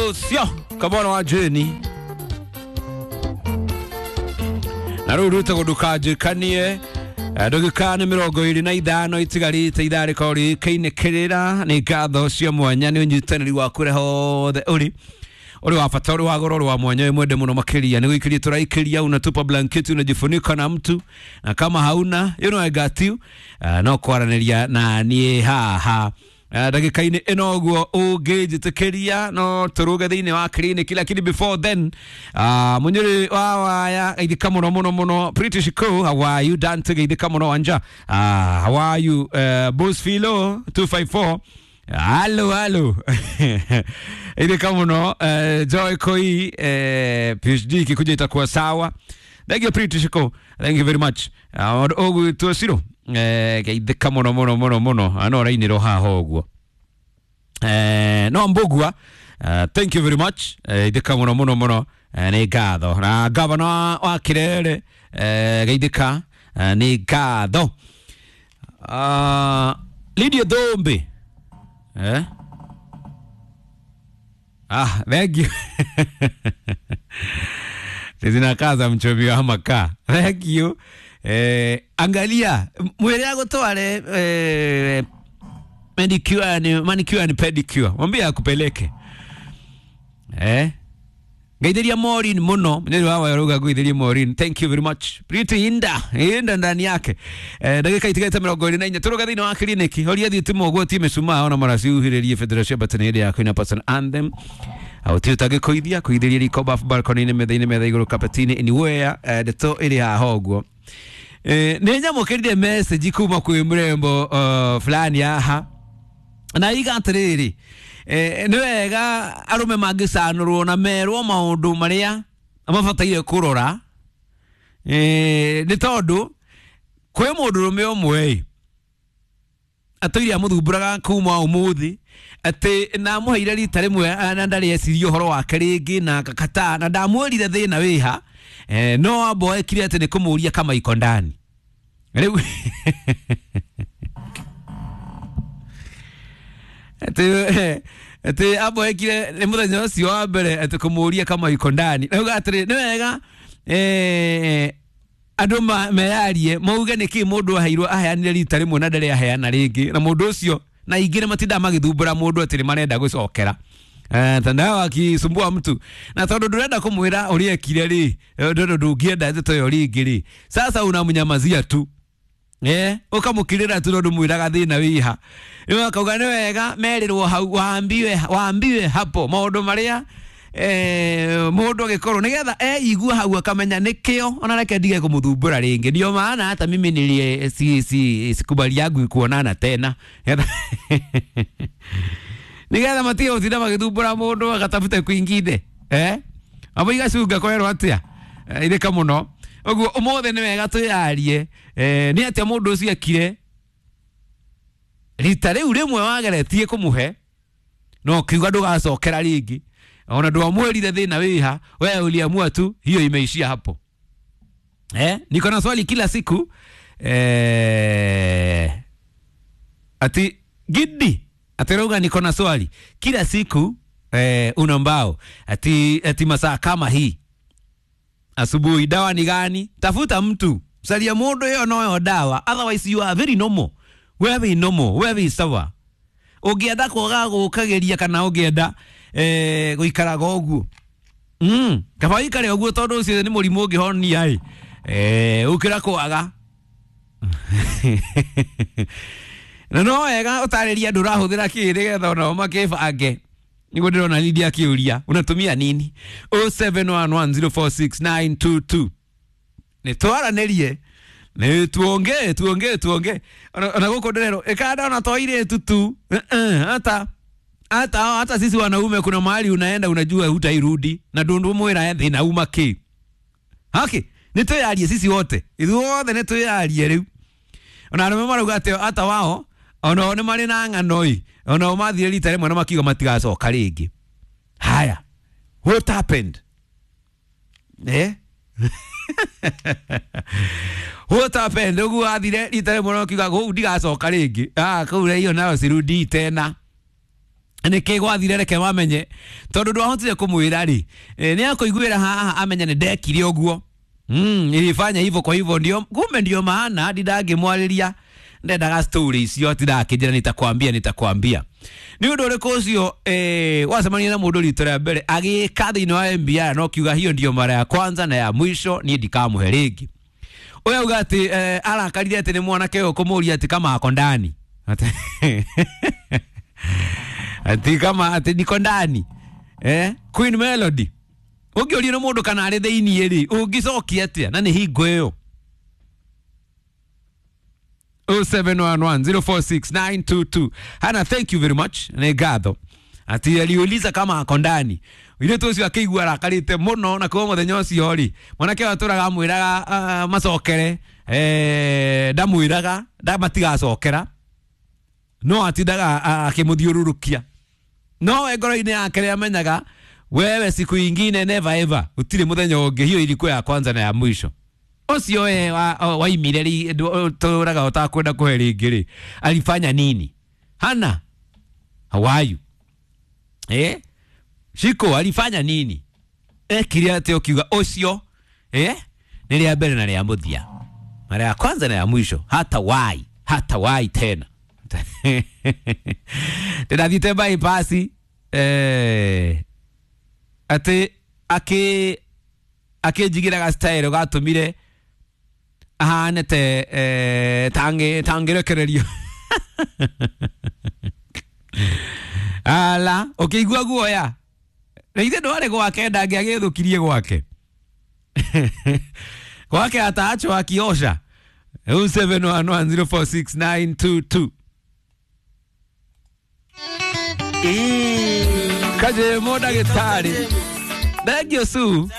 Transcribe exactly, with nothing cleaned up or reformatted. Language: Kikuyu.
Ũcio kamwana wa Jeni na rĩu rwĩtagwo ndũkanjĩkanie. Ndagĩka nĩ mĩrongo ĩrĩ na ithano itigarĩte ithaa rĩkorwo rĩkĩinĩkĩrĩra. Nĩ ngatho cia mwanya nĩ ũnyitanĩri waku ũrĩa hothe ũrĩ ũrĩ wa bata, ũrĩ wa goro, ũrĩ wa mwanya, wĩ mwende mũno makĩria. Nĩ gũikĩria tũraikĩria, unatupa blanketi, unajifunika na mtu, na kama hauna, you know I got you. uh, no kwaranĩria na niĩ haha ndagĩka-inĩ ĩno ũguo ũngĩnjĩtĩkĩria no tũrũge thĩinĩ wa clinic, lakini before then, uh, mũnyũrĩ wa waya, geithĩka mũno mũno mũno. British Co, how are you? Dante, geithĩka mũno. Wanja, uh, how are you? uh, Boss Philo two five four, halo halo, geithĩka mũno. uh, Joy Koi, uh, P H D ikikuja itakuwa sawa. Thank you, British Co, thank you very much. uh, ũgwĩtwo Ciro, eh, geithĩka mũno mũno mũno mũno, no ũrainĩrwo haha ũguo. eh, no Mbugua, uh, thank you very much, eh, ithĩka mũno mũno mũno, eh, nĩ ngatho. Na gavana wa, wa Kirere, eh, geithĩka, eh, nĩ ngatho. uh, Lydia Thumbi, eh? Ah, thank you. Zinakaza mchomi wa makaa. Thank you. Eh, angalia mwere agutware eh, manicure and manicure and pedicure, mwambie akupeleke. eh ngeithĩria Maureen mũno, nĩ wa waruga ngũithĩrie Maureen, thank you very much. Pretty Inda Inda ndani yake. eh ndagĩka itigaite mĩrongo ĩrĩ na inya, tũrũga thĩinĩ wa kiriniki. Horia thitima ũguo ti mĩcumaa ona maraciuhĩrĩrie Federation Batani hĩndĩ ya kwĩna person anthem auti ũtangĩkũithia kũithĩria riko, bafu, balcony-inĩ, metha-inĩ, metha igũrũ, kapeti-inĩ, anywhere, eh, ndeto ĩrĩ haha ũguo. eh, nĩ nyamũkĩrire message kuma kwĩ mrembo uh, fulani haha na iga atĩrĩrĩ, eh, nĩ wega arũme mangĩcanũrwo na merwo maũndũ marĩa mabataire kũrora, eh, nĩ tondũ kwĩ mũndũrũme ũmwe atũire amũthumbũraga kuma ũmũthĩ, atĩ namũheire rita rĩmwe na ndarĩ eciria ũhoro wake rĩngĩ na akakataa, na ndamwĩrire thĩna wĩha, eh, no amboekire atĩ nĩ kũmũria kama iko ndani. Rĩu atĩ atĩ amboekire nĩ mũthenya ũcio wa mbere atĩ kũmũria kama iko ndani. Rĩu atĩrĩ, nĩ wega eh, andũ meyarie mauge nĩkĩ mũndũ aheirwo, aheanire rita rĩmwe na ndarĩ aheana rĩngĩ, na mũndũ ũcio na ingĩ nĩ matindaga magĩthumbũra mũndũ atĩ nĩ marenda gũcokera. Eh, tandao akisumbua mtu na tondũ ndũrenda kũmwĩra ũrĩa ekire rĩ, tondũ ndũngĩenda ndeto ĩyo rĩngĩ rĩ, sasa unamnyamazia tu, eh ukamukirira tu tondu mwiraga thina wiha. Rĩu akauga nĩ wega merirwo hau, waambiwe waambiwe hapo maũndũ marĩa eh mũndũ agĩkorwo nĩgetha eigua hau akamenya nĩkĩo ona reke ndige kũmũthumbũra rĩngĩ. Ndio maana hata mimi nilie si si sikubali yangu kuonana tena nĩgetha matige gũtinda magĩthumbũra mũndũ agatafute kwingine, eh abo igacunga kwerwo atĩa. Ithĩka mũno ũguo ũmũthĩ nĩ wega twĩyarie, eh, nĩ atĩa mũndũ ũcio ekire rita rĩu rĩmwe wageretie kũmũhe no kiuga ndũgacokera rĩngĩ, ona ndwamwĩrire thĩna wĩha, wewe uliamua tu hiyo imeishia hapo. eh niko na swali kila siku, eh, ati Gidi atirauga niko na swali kila siku, eh, una mbao ati, ati masaa kama hii asubuhi dawa ni gani? Tafuta mtu salia mundu iyo noyo dawa, otherwise you are very normal, wewe normal, wewe sawa. Ũngĩenda kwaga gũkageria kana ũngĩenda eh, gũikaraga ũguo, mm, kaba ũikare ũguo tondũ ũcio nĩ mũrimũ ũngĩhonia ĩ, eh, ũkĩra kwaga na no wega ũtarĩrie andũ ũrahũthĩra kĩ nĩgetha onao makĩbange. Niguo ndĩrona Lydia akĩũria unatumia nini. zero seven one one zero four six nine two two, nĩ twaranĩrie, nĩ tuongee tuongee tuongee. ona ona gũkũ ndĩrerwo ĩkanda ona to airĩtu tu, Eh, eh, hata hata hata sisi wanaume kuna mahali unaenda unajua hutairudi na ndundu mwĩra thĩna uma kĩ haki. Nĩ twĩyarie sisi wote, ithuothe nĩ twĩyarie rĩu. Ona arũme marauga atĩ hata wao onao nĩ marĩ na ng'ano ĩ, onao mathire rita rĩmwe na makiuga matigacoka rĩngĩ. Haya, what happened? eh what happened ũguo athire rita rĩmwe na makiuga kũu ndigacoka rĩngĩ? Ah, kũu hiyo nayo sirudi tena. Nä gwathire reke mamenye tondå ndwahotire kå mwä ra rä nä akå iguä haha amenye nä ndekire å guo. Mm, nilifanya hivyo kwa hivyo ndio kumbe ndio maana hadi ndangĩmwarĩria ndendaga story icio ati ndakĩnjĩra nitakwambia nitakwambia. Nĩ ũndũ ũrĩkũ ũcio eh, wacemania na mũndũ rita rĩa mbere agĩka thĩinĩ wa M B R no kiuga hiyo ndio mara ya kwanza na ya mwisho niĩ ndikamũhe rĩngĩ. Ũyũ auga atĩ eh, arakarire atĩ nĩ mwanake ũyũ kũmũria atĩ kama ako ndani ati kama ati niko ndani eh, Queen Melody ũngĩũrio nĩ mũndũ kana arĩ thĩinĩ rĩ ũngĩcokia atĩa na nĩ hingo ĩyo. oh seven one one, zero four six, nine two two. Hana, thank you very much. Nĩ ngatho ati aliuliza kama ako ndani. Mũirĩtu ũcio akĩigua arakarĩte mũno na kuma mũthenya ũcio rĩ mwanake ũyũ atũraga amwĩraga uh, macokere eh, ndamwĩraga ndamatigacokera no atindaga akĩmũthiũrũrũkia no we ngoro-inĩ yake nĩ amenyaga wewe siku ingine never ever utire muthenya ungi hiyo ilikuwa ya kwanza na ya mwisho. Ucio we waimire ri turaga utakwenda kuhe ringi ri alifanya nini? Hana, how are you? Eh, Shiko alifanya nini? Ekire ati ukiuga ucio eh ni ria mbere na ria muthia, mara ya kwanza na ya mwisho, hata wai hata wai tena. Ndirathite bypass eh ati aki akinjigiraga style gatumire ahane te eh, tangi tangirekererio. Ala ukiigua guoya na ithe ndware gwake ndangĩagĩthũkirie gwake gwake ataachwo akiosha. oh seven one one, zero four six, nine two two. Kaje mo ndagĩtarĩ. Thank you, Sue.